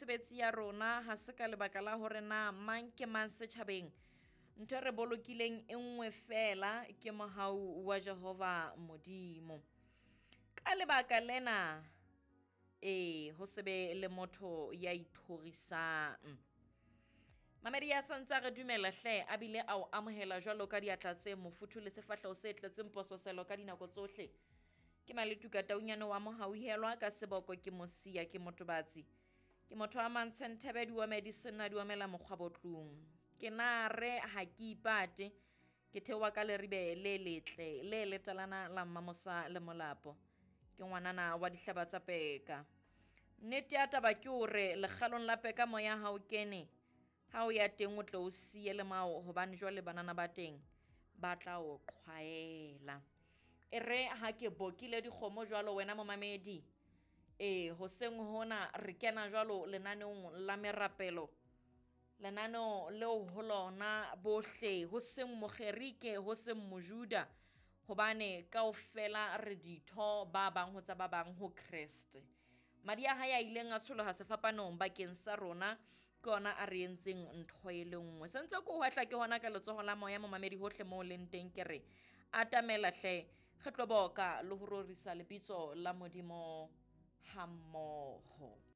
mesebetsi ya rona, ha se ka lebaka la hore na mang ke mang setjhabeng. Ntho e re bolokileng e nngwe feela ke mohau wa Jehova Modimo. Ka lebaka lena, ee, ho se be le motho ya ithorisang. Mamedi ya santse a re dumela hle, a bile a o amohela jwalo ka diatla tse mofuthu le sefahleho se tletseng pososelo ka dinako tsohle. Ke Maletuka Taunyane wa Mohauhelwa, ka seboko ke Mosia, ke motobatsi. Ke motho wa Mantshenthebe, diomedi senna diomela mokgwabotlung. Ke na re ha ke ipate, ke theoha ka leribe le letle le letalana la Mmamosa le Molapo. Ke ngwanana wa dihlaba tsa peka. Nnete ya taba ke hore lekgalong la peka moya ha o kene, ha o ya teng o tle o siye le mao, hobane jwale banana ba teng ba tla o qhwaela. E re ha ke bokile dikgomo jwalo wena momamedi, ee, hoseng hona re kena jwalo lenaneong la merapelo, lenaneo leo ho lona bohle, ho seng Mogerike, ho seng Mojuda, hobane kaofela re ditho ba bang ho tsa ba bang ho Kreste. Madi a hae a ileng a tsholoha sefapanong bakeng sa rona ke ona a re entseng ntho e le nngwe. Se ntse ke o hwehla ke hona ka letsoho la moya momamedi hohle moo leng teng, ke re atamela hle, re tlo boka le ho rorisa lebitso la Modimo hammoho.